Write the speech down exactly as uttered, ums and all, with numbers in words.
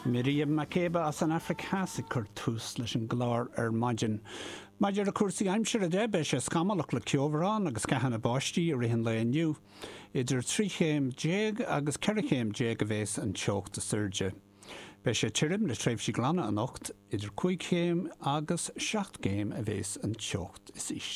Miriam Makeba as an Afraic Theas ag cur tús leis an gclár ar maidin. Maidir le cúrsaí aimsire de beidh sé scamallach le ceobhrán agus ceathanna báistí i rith an lae inniu. Idir trí chéim déag agus ceithre chéim déag a bheas an teocht is airde. Beidh sé tirim le tréimhsí glana anocht idir cúig chéim agus seacht gcéim a bheas an teocht is ísle.